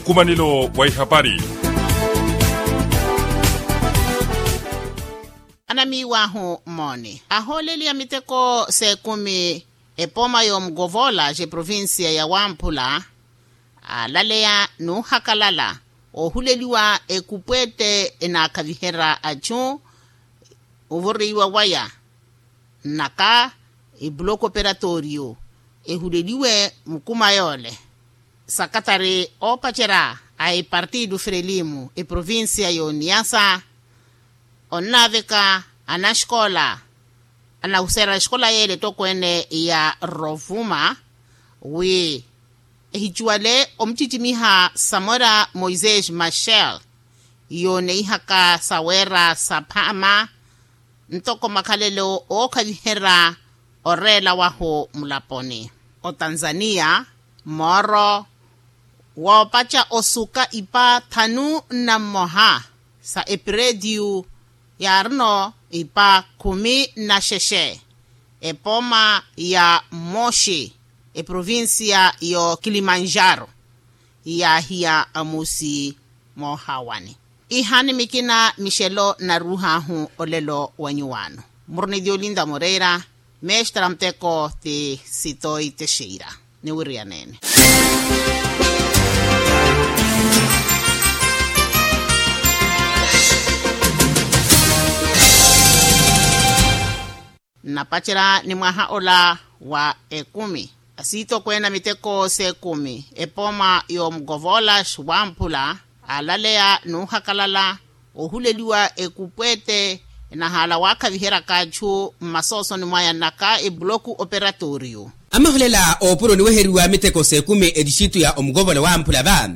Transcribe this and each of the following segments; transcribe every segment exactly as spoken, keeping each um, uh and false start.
Nkumanelo wa ihapari. Anamiiw'ahu mooni ahooleliwa miteko s'ekumi, epooma y'omukovola c'eprovincia ya wamphula, aalaleya n'uhakalala oohuleliwa ekupwette enaakhaviherya achu ovoriwa waya nnaka, epuloku operatooriyo ehuleliwe mukuma yoole. Sakatari oopacerya a epartido frelimu eprovincia y'oniyasa onnaaveka anaxikola anahuserya exikola yeele etokweene ya rovuma wi ehicuwale omucicimiha samora moisés machel, yooneihaka saweera saphaama ntoko makhalelo ookhaviherya oreela wahu mulaponi. Otanzania mooro woopaca osuka ipa thanu na mmoha sa epireetiyu yaarino ipa khumi na xexe epooma ya moxi eprovincia y'okilimanjaro yaahiya amusi moohaawani. Ihaani mikina mixelo naruuhaahu olelo wa nyuwaano murunilya olinda moreera. Mestra muteko ti sitoi texeira niwiriyaneene. Nnapacerya ni mwaha ola wa ekumi asiitokweene a miteko s'ekumi epooma y'omukovola xuwamphula aalaleya n'uhakalala ohuleliwa ekupwete enahaala waakhaviheryaka achu mmasoosoni mwaya nnaka epuloku operatooriyo. Amahulela oopuro niweheriwa miteko s'ekumi etixitu ya omukovola wamphula va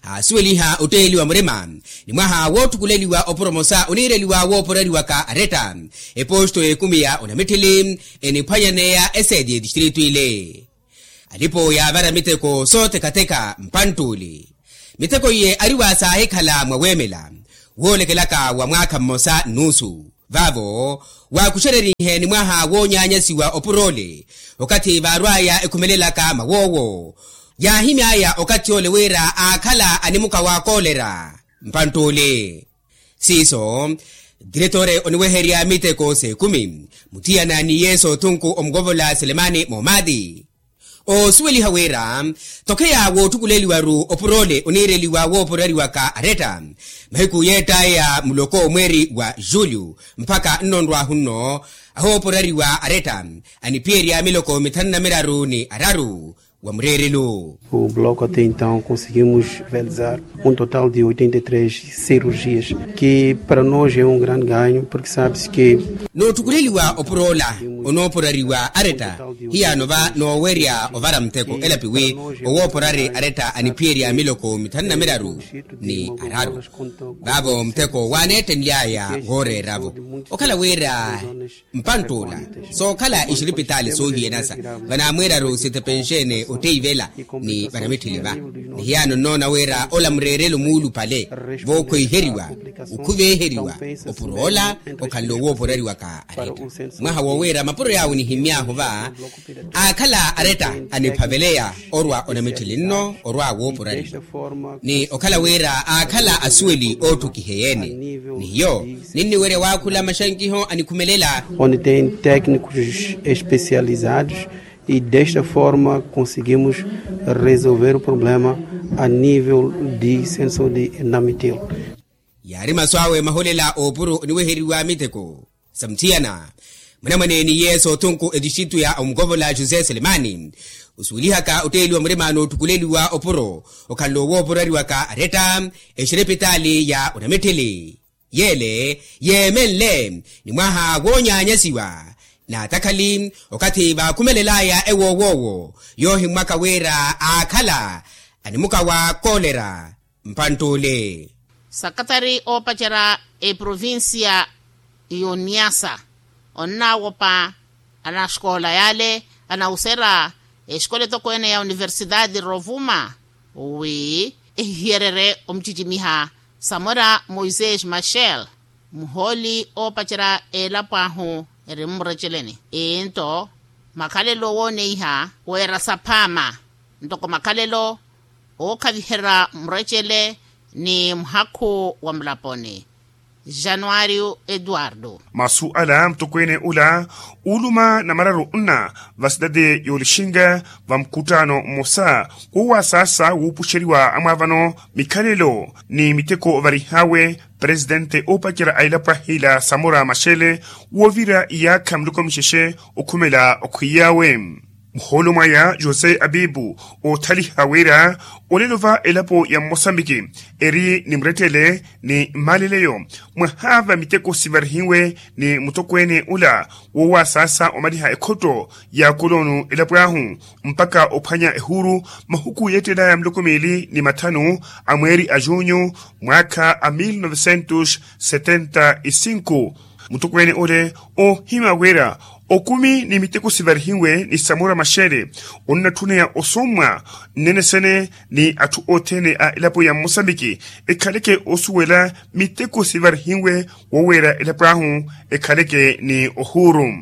aasuweliha otteeliwa murima ni mwaha wootthukuleliwa opuro mosa oniireliwa wooporariwaka aretta eposto y'ekumi ya onamitthili eniphwanyaneya eseeti y'etistritu ile. Alipo yaavara miteko soothekatheka mpanttuuli miteko iye ariwa saahikhala mwa weemela woolekelaka wa mwaakha mmosa nnuusu. Vaavo waakuxererihe ni mwaha woonyaanyasiwa opuroole okathi vaarw'aya ekhumelelaka mawoowo yaahimy'aya okathi ole wira aakhala animuka wa koolera mpanttuuli. Siiso diretore oniweherya miteko s'ekumi muthiyana ni yesu othunku omukovola selemani moomaati oosuweliha wira tokheya wootthukuleliwaru opuroole oniireliwa wooporariwaka aretta mahiku yeett'aya muloko mweeri wa julio mpakha nnonrwahu nno ahooporariwa aretta aniphiyerya miloko mithanu na miraru ni araru wa mureerelo. O bloco até então conseguimos realizar um total de oitenta e três cirurgias, que para nós é um grande ganho porque sabe-se que nootthukuleliwa opurola onooporariwa aretta hiyaano va noowerya ovara muteko elapi wi owooporari aretta aniphiyerya miloko mithanu na miraru ni araru. Vaavo muteko waaneettenly'aya wooreera-vo okhala wira mpanttuula sookhala ixiripitaali soohiyanasa vanaamwiiraru sitepenxene otteivela ni vanamitthili va. Ni hiyaano nnoona wira ola mureerelo muulupale vookhweiheriwa okhuveeheriwa opuro ola okhanle owooporariwaka aretta mwaha woowiira mapuro yaawo nihimy'ahu va aakhala aretta aniphaveleya orwa onamitthili nno orwa wooporariwa ni okhala wira aakhala asuweli ootthukiheyeene ni hiyo ninniwerya waakhula maxankiho anikhumelela. Onde tem técnicos especializados e desta forma conseguimos resolver o problema a nível de centro de saúde namitilo. Yaari masu awe maholela oopuro oniweheriwa miteko sa muthiyana munamwane ni yesu othunku etixitu ya omukovola josé selemani osuwelihaka otteeliwa murima nootthukuleliwa opuro okhanle owooporariwaka aretta exiripitaali ya onamitthili yeele yeemenle ni mwaha woonyaanyasiwa naatakhali okathi vaakhumelel'aya ewoowoowo yoohimmwaka wira aakhala animuka wa koolera mpanttuule. Sakatari oopacerya eprovincia y'oniyasa onnaawopa anaxikola yale anawuserya exikola etokweene ya universidade rovuma wi ehihiyererye omucicimiha samora moisés machel muhooli oopacerya elapo ahu eri mmureceleni. Into makhalelo wooneiha weera saphaama ntoko makhalelo Ookhaviherya murecele ni muhakhu wa mulaponi. Januario eduardo. Masu ala mutokweene ula uuluma namararu nna va sitade y'olixinga va mukuttaano mmosa woowasaasa wuupuxeriwa amwaavano mikhalelo ni miteko ovarihaawe presitente oopacerya a elapo ahiila samora maxele woovira iyaakha miloko mixexe okhumela okhwiiyaawe. Muhoolo mwaya jose abibu oothaliha wira olelo va elapo ya mmosambiki eri ni murettele ni mmaleleyo mwahaava miteko sivarihiwe ni mutokweene ula woowasaasa omaliha ekhotto ya koloonu elapo ahu mpakha ophwanya ehuuru mahuku yeettelaya miloko miili ni matthanu a mweeri a junyu mwaakha a mil novecentos setenta y cinco. Mutokweene ole oohima wira okumi ni miteko sivarihiwe ni samora maxele onnatthuneya osommwa nnenesene ni atthu othene a elapo ya mmosambiki ekhaleke osuwela miteko sivarihiwe woweera elapo ahu ekhaleke ni ohuuru.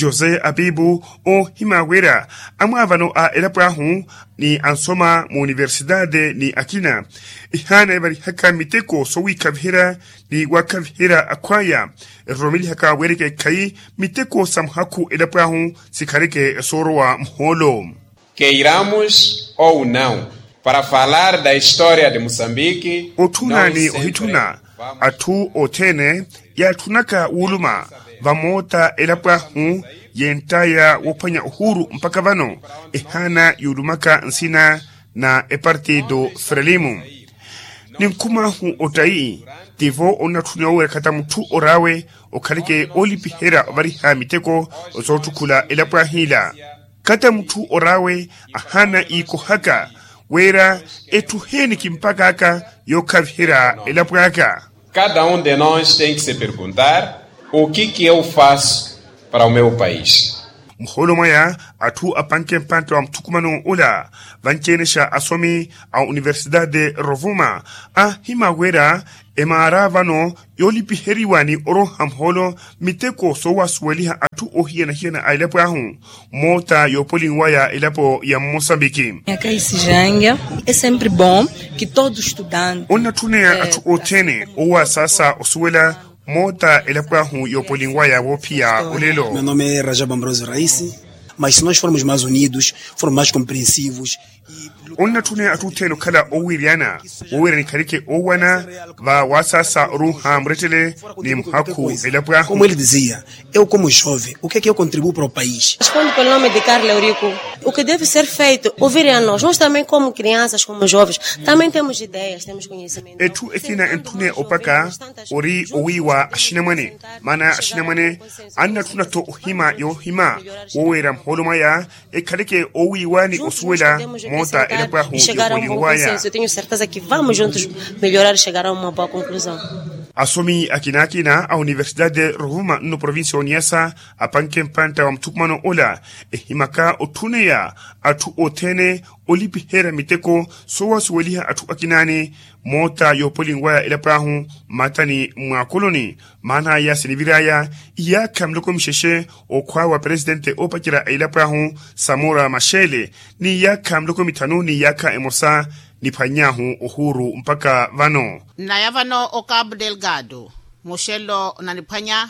Jose apipu oohima wira amwaavano a elapo ahu ni ansoma mu universitade ni akina ehaana evarihaka miteko sowiikhaviherya ni waakhaviherya akhwaya eroromelihaka weereke ekhayi miteko sa muhakhu elapo ahu sikhaleke soorowa muhoolo. Keiramos ou nau para falar da história de moçambique. Otthuna ni ohitthuna atthu othene yaatthunaka wuuluma vamoota elapo ahu yenttaya woophwanya ohuuru mpakha vano ehaana yuulumaka nsina na epartido frelimo. Ni nkhum'ahu ottayi tivo onnatthuniwa wira khata mutthu or'awe okhaleke oolipiherya ovariha miteko soottukhula elapo ahiila. Khata mutthu or'awe ahaana iikohaka wira etthu heeni kimpak'aka yookhaviherya elapo aka. Cada um de nós tem que se perguntar o que que eu faço para o meu país. Muhoolo mwaya atthu apanke mpantte wa muthukumano ula vanci-enexa asomi a universitade rovuma aahima wira emaara vano yoolipiheriwa ni oroha muhoolo miteko soowasuweliha atthu ohiyana-hiyana a elapo ahu moota yoopolinwaya elapo ya mmosambiki. Nyaka isijange é sempre bom que todo estudante onnatthuneya atthu othene oowasasa osuwela moota elapo ahu yoopolinwaya woophiya olelo. Meu nome é rajab ambrose raisi. Mas se nós formos mais unidos, formos mais compreensivos. Onnatthune atthu othene okhala owiiriyana wowiira nikhaleke oowana va waasaasa oruuha murettele ni muhakhu elapo ahu. Como ele dizia, eu como jovem o que é que eu contribuo para o país? Responde pelo nome de carla eurico. O que deve ser feito ouvir a nós nós também como crianças como jovens também temos ideias temos conhecimento. Etthu ekina entthune opaka ori owiiwa axinamwane maana axinamwane annatthuna-tho ohima yoohima woweera muhoolo mwaya ekhaleke oowiiwa ni osuwela moota elapo ahu yookolinwaya. Tenho certeza que vamos juntos melhorar e chegar a uma boa conclusão. Asomi akina-akina a universitade rovuma nno provincia oniyasa apanke mpantta wa muthukumano ola ehimaka otthuneya atthu othene olipiherya miteko soowasuweliha atthu akinaani moota yoopolinwaya elapo ahu mmatani mw'akoloni. Maana aya sinivir'aya iyaakha miloko mixexe okhwaawa presitente oopacerya a elapo ahu samora maxele ni iyaakha miloko mithanu ni iyaakha emosa niphwany'ahu ohuuru mpakha vano. Nnaya vano o cabo delgado muxelo onaniphwanya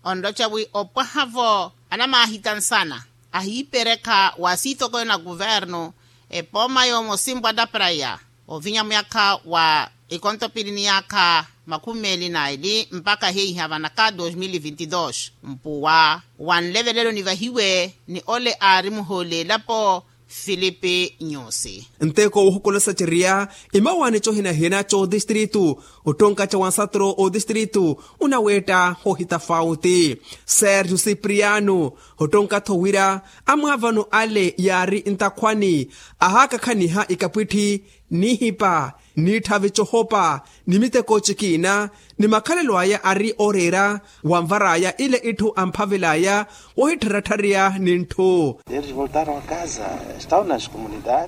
onroca wi opwaha-vo anamaahita nsana ahiiperekha wa siitokoni na kuvernu epooma yoomosi mpwata praya ovinya muyakha wa ikontopili ni yaakha makhumi meeli na eli mpakha heiha vanaka dos mil vinti dos mpuwa wa nlevelelo nivahiwe ni ole aari muhooli elapo filipi nyusi. Nteko wohokolosa ceriya imawaani cohinahina c'odistritu ottonka ca wansatro odistritu onaweetta ohitafauti sergio cipriano ottonka-tho wira amwaavano ale yaari ntakhwani ahaakakhaniha ikapwitthi nihipa niitthavi cohopa ni miteko cikiina ni makhalelo aya ari ooreera wanvar'aya ile itthu amphavel'aya wohittharatthariya ni ntthu.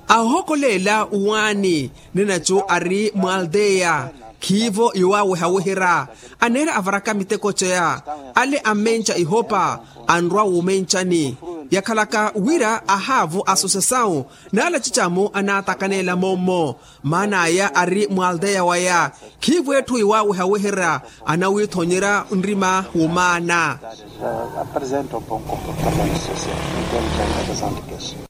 Ahohokoleela uwaani ninaco ari mw'alteya khiivo yowaawehaweherya aneera avaraka miteko ceya ale ammenca ihopa anrwa wumencani Yakhalaka wira ahaavo asusesawu n'ala cicamo anaatakaneela moommo. Maana aya ari mw'alteya waya. Khiivo etthu iwaawehaweherya anawithonyerya nrima w'omaana.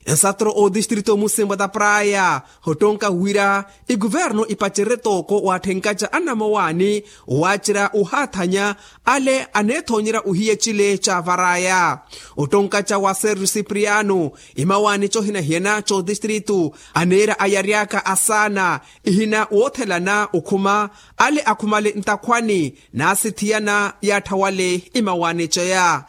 Nsatro otistrito musimbwa ta praya ottonka wira ikuvernu ipacerye tooko watthenkaca annamowaani. Waacerya ohaathanya ale aneethoonyerya ohiya ecile caavaraya. Ottonkaca wa sergio cipriano imawaani cohina hiyana c'otistritu aneera ayary'aka asaana ihina woothelana okhuma ale akhumale ntakhwani n'asithiyana yaattha wale imawaani ceya.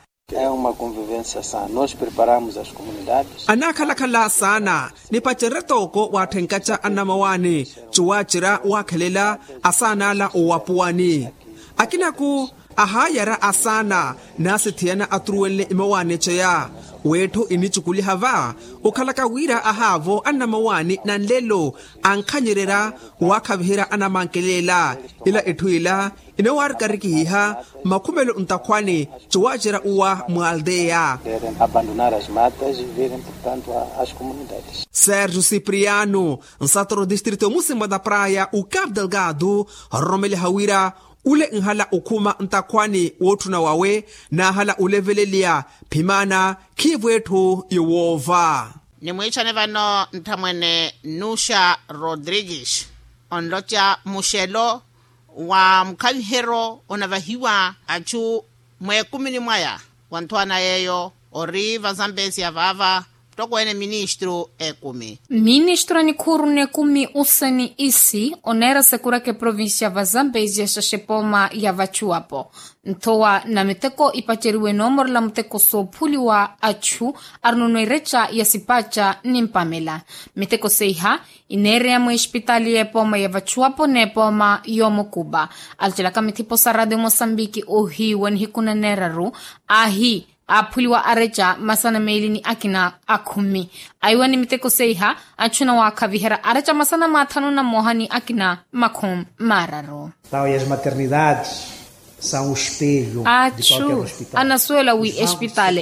Anaakhalakhala saana nipacerye tooko watthenkaca annamawaani. Cuwaacerya waakhelela asaana ala owapuwani akinaku ahaayara asaana n'asithiyana aturuwenle imawaani ceya. W'etthu inicukuliha va okhalaka wira ahaavo annamawaani na nlelo ankhanyererya waakhaviherya anamankelela ila etthu ila inowaarikarikihiha makhumelo ntakhwani. Cuwaacerya uwa mw'alteya abandonar as matas e virem portanto as comunidades. Sergio cipriano nsatoro distrito musimbwa ta praya o capo delgado ororomeleha wira ule nhala okhuma ntakhwani wootthuna wawe naahala oleveleliya phimana khiivo etthu yowoova. Nimwiichane vano nthamwene nuxa rodrigues onloca muxelo wa mukhaviheryo onavahiwa achu mweekumini mwaya. Wanthwana yeeyo ori vazambezia vaava mutokweene ministru ekumi. Ministru a nikhuuru n'ekumi useni isi oneera sekuraka eprovincia vazambezia xaxepooma ya vachuwapo nthowa na miteko ipaceriwe noomorela muteko soophuliwa achu arinono ereca ya sipaca ni mpamela. Miteko seiha ineereya mweespitaali y'epooma ya vachuwapo n'epooma y'omukupa. Alocelaka mithipo sa radio mosambiki ohiiwa nihiku naneeraru aahi aaphuliwa areca masana meeli ni akina akhumi. Aiwa ni miteko seiha achuna waakhaviherya areca masana mathanu na mmoha ni akina makhumi maararu. Tal e as maternidades são o espelho de qualquer hospital. Achu anasuwela wi espitaali